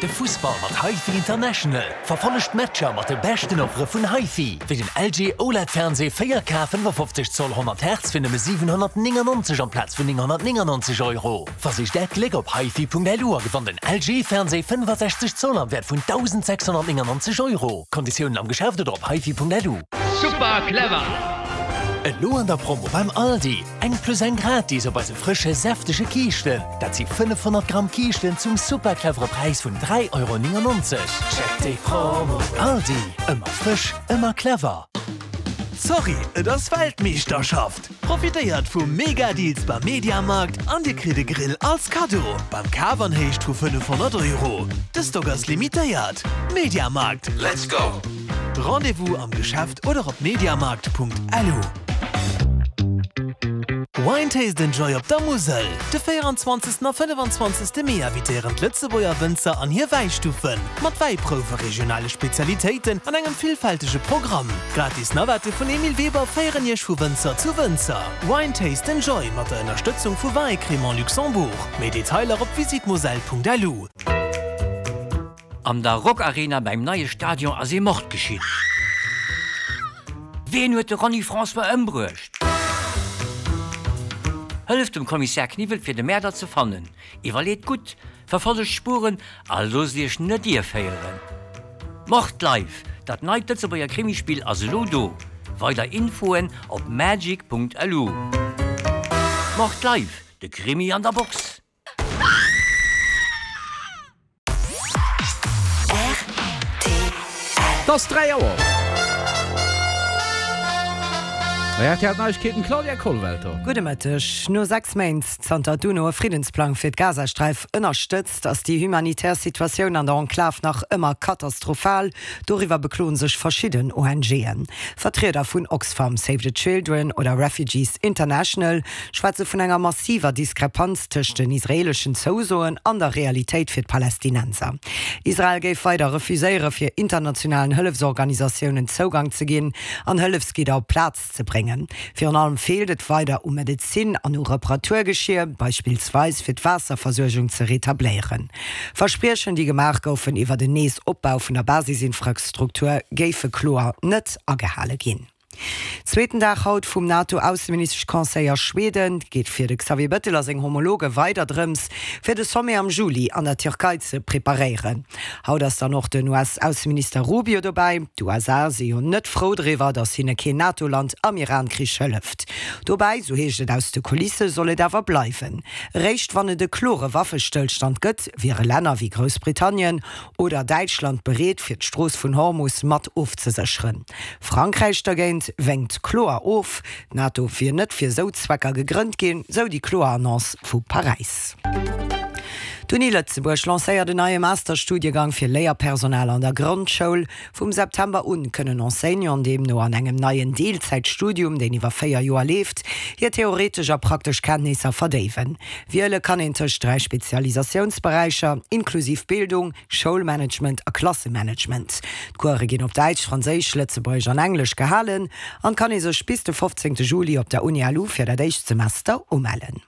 De Fussball mat HiFi International. Verfollegt d'Matcher mat de beschten Offere vun HiFi, wéi den LG OLED Fernseh 4K 55 Zoll 100 Hertz fir nëmme 799 amplaz vun 999 Euro. Versicht Äert Gléck op hifi.lu a gewannt en LG Fernseh 65 Zoll am Wäert vun 1.699 Euro. Konditiounen am Geschäft oder op hifi.lu. Super clever! Elo an der Promo beim Aldi, eng plus eng gratis op eise frësche säftege Kiischten. Dat si 500 Gramm Kiischten zum super clevere Präis vun 3,99 Euro. Checkt déi Promo! Aldi, ëmmer frësch, ëmmer clever! Sorry, et ass Weltmeeschterschaft! Profitéiert vu Mega Deals beim Mediamarkt an dir kritt e Grill als Kaddo beim Kaf an Héicht vu 500 Euro. De Stock ass limitéiert. Mediamarkt, let's go! Rendez-vous am Geschäft oder op mediamarkt.lu. Wine Taste and Joy op der Musel! De 24. a 25. Mee invitéieren d'Lëtzebuerger Wënzer an hir Wäistuffen, mat Wäiprouwe, regionale Spezialitéiten an engem villfältege Programm. Gratis Navette vun Emile Weber féieren Iech vu Wënzer zu Wënzer. Wine Taste and Joy mat der Ënnerstëtzung vu Vins et Crémants Luxembourg. Méi Detailer op visitmoselle.lu. An der Rockarena beim neie Stadion ass ee Mord geschitt. Ween huet de Ronny François ëmbruecht? Hëlleft dem Kommissär Kniwwel fir de Mäerder ze fannen. Iwwerleet gutt, verfollegt d'Spuren a loosst iech net ierféieren. Mord Live, dat neit Lëtzebuerger Krimispill ass elo do. Weider Infoen op magic.lu. Mord Live, de Krimi an der Box! Et ass 3 Auer. Bei rtl d'Neiegkeeten, Claudia Kollwelter. Gudde Mëtteg. No 6 Méint, zanter d'UNO e Friddensplang fir d'Gazasträif ënnerstëtzt, ass déi humanitär Situatioun an der Enklav nach ëmmer katastrophal. Doriwwer bekloen sech verschidden ONGen. Vertrieder vun Oxfam, Save the Children oder Refugees International schwätze vun enger massiver Diskrepanz tëscht den israeeleschen Zousoen an der Realitéit fir d'Palästinenser. Israel géif weider refuséiere fir internationalen Hëllefsorganisatiounen Zougang ze ginn an Hëllefsgidder op d'Plaz ze bréngen. Virun allem feelt et weider u Medezin an u Reparaturgeschier, beispillsweis fir d'Waasserversuergung ze retabléieren. Verspriechen, déi gemaach goufen iwwert en Nees-Opbau vun der Basisinfrastruktur, géife kloer net agehale ginn. Zweeten Dag haut vum NATO-Ausseministesch-Conseil a Schweden. Et geet fir de Xavier Bettel a seng Homologe weider drëms, fir de Sommet am Juli an der Tierkei ze preparéieren. Haut ass dann och den US-Ausseminister Rubio dobäi. D'USA si jo net frou driwwer, datt hinne keen NATO-Land am Iran-Krich hëlleft. Dobäi, sou heescht et aus de Kulisse, soll et awer bleiwen. Eréischt wann et e klore Waffestëllstand gëtt, wiere Länner wéi Groussbritannien oder Däitschland bereet, fir d'Strooss vun Hormus mat ofzesécheren. Frankräich dergéint wénkt kloer of. D'NATO wier net fir esou Zwecker gegrënnt ginn, sou déi kloer Annonce vu Paräis. D'Uni Lëtzebuerg lancéiert en neie Masterstudiegang fir Léierpersonal an der Grondschoul. Vum September un kënnen Enseignanten deemno an engem neien Deelzäitstudium, deen iwwer 4 Joer leeft, hir theoretesch a praktesch Kenntnisser verdéiwen. Wiele kann een tëscht 3 Spezialisatiounsberäicher, inklusiv Bildung, Schoulmanagement a Klassemanagement. D'Course ginn op Däitsch, Franséisch, Lëtzebuergesch an Englesch gehalen an kann ee sech bis de 15 Juli op der Uni LU fir dat éischt Semester umellen.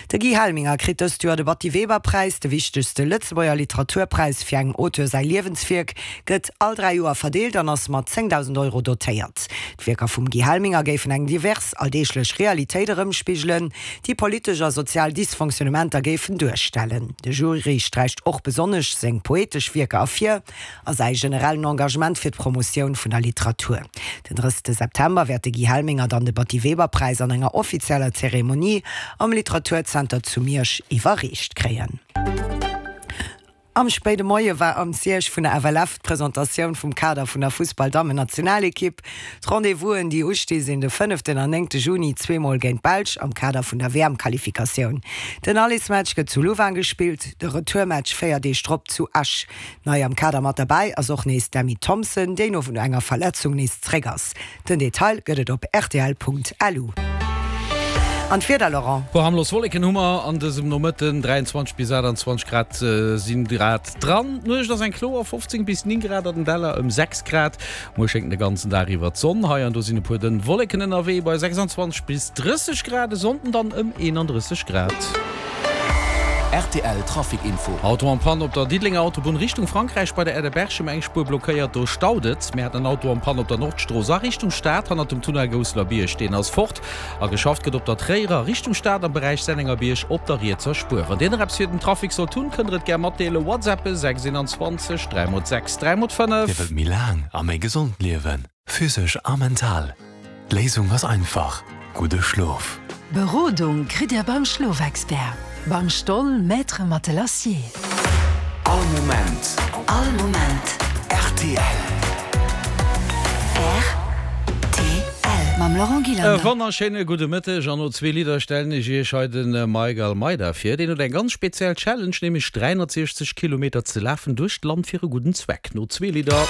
De Guy Helminger kritt dëst Joer de Batty Weber Präis, de wichtegste Lëtzebuerger Literaturpräis fir engem Auteur säi Liewenswierk, gëtt all 3 Joer verdeelt an ass mat 10.000 Euro dotéiert. D'Wierker vum Guy Helminger géifen eng divers alldeeglech Realitéit erëmspigelen, déi politesch a sozial Dysfonctionnementer géifen duerstellen. De Jury sträicht och besonnesch seng poetesch Wierker ervir a säi generellen Engagement fir d'Promotioun vun der Literatur. Den 30 September wäert de Guy Helminger dann de Batty-Weber-Präis an enger offizieller Zeremonie am Literaturzenter zu Miersch iwwerreecht kréien. Am spéide Moie war am Siège vun der FLF d'Presentatioun vum Kader vun der Fussball-Dammen-Nationalekipp. D'Rendez-vousen, déi usti sinn de fënneften an néngte Juni zweemol géint d'Belsch am Kader vun der WM-Qualifikatioun. Den Allesmatch gëtt zu Louvain gespillt, de Retourmatch 4 Deeg drop zu Esch. Nei am Kader mat derbäi ass och nees d'Emmy Thompson, déi no enger Verletzung nees zréck ass. Den Detail gëtt et op rtl.lu. An d'Wieder, Laurent? Puer harmlos Wolleken hu mer an dësem Nomëtten, 23 bis 28 Grad sinn grad dran. D'Nuecht ass eng kloer, 15 bis 9 Grad, an den Däller ëm 6 Grad. Muer schéngt de ganzen Dag iwwer d'Sonn, hei an do sinn e puer dënn Wolleken ënnerwee bei 26 bis 30 Grad, e Sonnden dann ëm 31 Grad. Rtl Trafic Info. Auto en Panne op der Diddelenger Autobunn Richtung Frankräich bei der Aire de Berchem, eng Spuer blockéiert, do staut et. Mir haten en Auto en Panne op der Nordstrooss a Richtung Stad hannert dem Tunnel Gousselerbierg, deen ass fort. A geschafft gëtt op der Tréierer Richtung Stad am Beräich Sennengerbierg op der rietser Spuer. Wann Dir nach eppes fir den Trafic sollt hunn, kënnt der et gär matdeelen. WhatsAppe 6 21 3 x 6 3 x 5. Dir wëllt méi laang a méi gesond liewen? Physesch a mental. D'Léisung ass einfach, gudde Schlof. Berodung kritt Dir beim Schlofexpert, beim Stoll Maître Matelassier. All Moment. All Moment. Rtl. Rtl. Mam Laurent E Gillander. wonnerschéine gudde Mëtteg an no zwee Lidder stellen ech Iech hei de Mike Almeida vir. Deen huet eng ganz speziell Challenge, nämlech 360 Kilometer ze lafen duerch d'Land fir e gudden Zweck. No zwee Lidder.